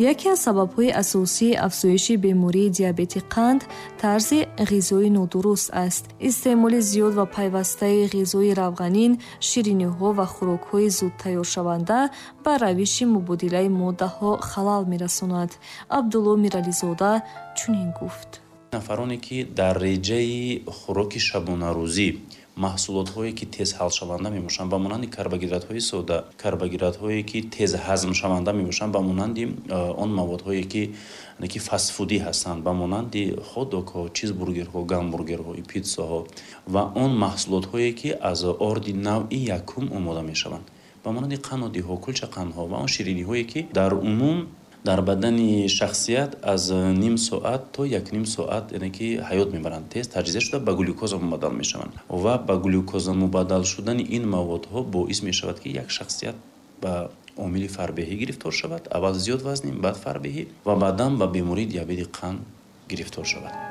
Яке аз сабабҳои асосии афзоиши бемории диабети қанд тарзи ғизои нодуруст аст. Истеъмоли зиёд ва пайвастаи ғизои равғанин, шириниҳо ва хӯрокҳои зуд тайёршаванда ба равиши мубодилаи моддаҳо халал мерасонад. Абдулло Мирализода чунин гуфт. Нафароне, ки дар реҷаи хӯроки шабонарӯзӣ маҳсулотҳое, ки тез ҳалшаванда мебошанд, ба монанди карбогидратҳои сода, карбогидратҳое, ки тез ҳазмшаванда мебошанд, ба монанди он маводҳое, ки фастфудӣ ҳастанд, ба монанди хот-догҳо, чизбургерҳо, гамбургерҳо, питсаҳо ва он маҳсулотҳое, ки аз орди навъи якум омода мешаванд, ба монанди қаннодиҳо, кулчақандҳо ва он шириниҳое, ки дар умум дар бадани шахсият аз ним соат то якним соат, яъне ки ҳаёт мебаранд, тез таҷзия шуда, ба глюкоза мубаддал мешаванд ва ба глюкоза мубаддал шудани ин маводҳо боис мешавад, ки як шахсият ба омили фарбеҳӣ гирифтор шавад, аввал зиёд вазнӣ, баъд фарбеҳӣ ва баъдан ба бемории диабети қанд гирифтор шавад.